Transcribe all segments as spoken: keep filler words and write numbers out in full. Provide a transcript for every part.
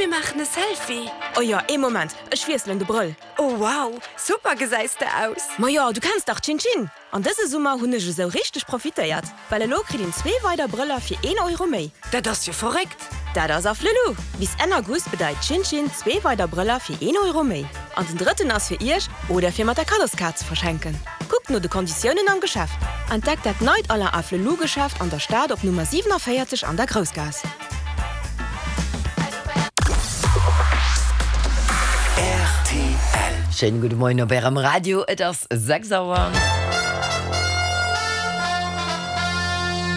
Komm mir maachen e Selfie! Oh jo, ee Moment, ech wiesselen de Brëll. Oh wow, super gesäis de aus! Ma jo, du kenns dach Chin Chin! An dëse Summer hunn ech esou richteg profitéiert, well elo kritt een zwee weider Brëller fir een Euro méi. Dat ass jo verréckt! Dat ass Afflelou! Bis Enn August bedeit Chin Chin zwee weider Brëller fir een Euro méi. An den drëtten ass fir iech oder fir mat der Kaddoskaart ze verschenken. Kuckt no de Konditiounen am Geschäft. Entdeckt dat neit Alain Afflelou Geschäft an der Stad op Nummer siewenundvéierzeg an der Groussgaass. Rtl. Schéine gudde Moien op Ärem Radio, et ass sechs Auer.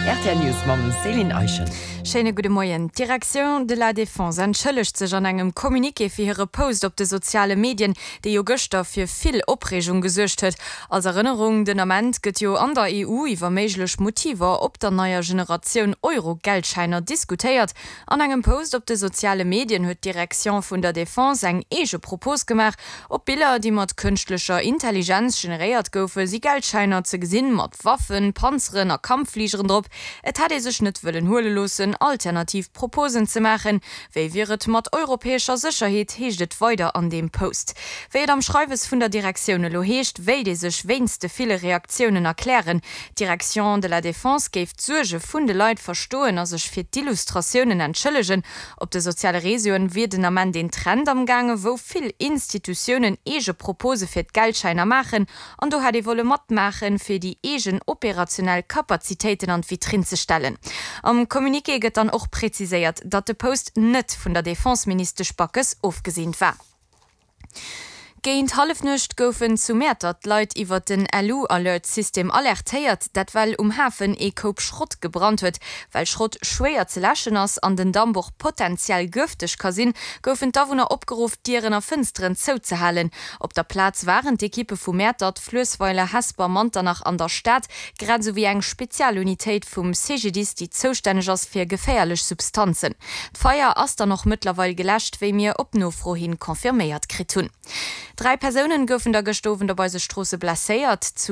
Rtl News mam Céline Eischen. Schéine gudde Moien. D'Direction de la Défense entschëllegt sech an engem Communiqué fir hire Post op de soziale Medien, dee jo gëschter fir vill Opreegung gesuergt huet. Als Erënnerung, Den Ament gëtt jo an der E U iwwer méiglech Motiver op der neier Generatioun Euro-Geldschäiner diskutéiert. An engem Post op de soziale Medien huet d'Direction vun der Defense eng eege Propos gemaach. Op Biller, déi mat kënschtlecher Intelligenz generéiert goufen, si Geldschäiner ze gesinn, mat Waffen, Panzeren a Kampffligeren drop. Et hätt ee sech net wëllen huele loossen, alternativ Proposen ze maachen. Wéi wier et mat europäescher Sécherheet, heescht et weider an deem Post. Wéi et am Schreiwes vun der Direktioun elo heescht, wéilt ee sech wéinst de ville Reaktiounen erklären. D'Direction de la Défense géif d'Suerge vun de Leit verstoen a sech fir d'Illustratiounen entschëllegen. Op de soziale Reseauen wier den Ament een Trend am gaange wou vill Institutiounen eege Propose fir d'Geldschäiner maachen an do hätt ee wolle matmaachen, fir déi eegen operationell Kapazitéiten an d'Vitrinn ze stellen. Am Communiqué gëtt dann och präziséiert, datt de Post net vun der Defenseministesch Backes ofgeseent war. Géint Hallefnuecht goufen zu Mäertert d'Leit iwwer den LU-Alert-System alertéiert, dat well um Hafen ee Koup Schrott gebrannt huet. Well Schrott schwéier ze läschen ass an den Damp och potenziell gëfteg ka sinn, goufen d'Awunner opgeruff, Dieren a Fënsteren zouzehalen. Op der Plaz waren d'Ekippe vu Mäertert, Fluessweiler, Hesper, Manternach an der Stad, grad esou wéi eng Spezialunitéit vum C G D I S, déi zoustänneg ass fir geféierlech Substanzen. D'Feier ass dann och mëttlerweil geläscht, wéi mir op Nofro hin confirméiert kritt hunn. Dräi Persounen goufen da gëschter Owend op eise Stroosse blesséiert. Zu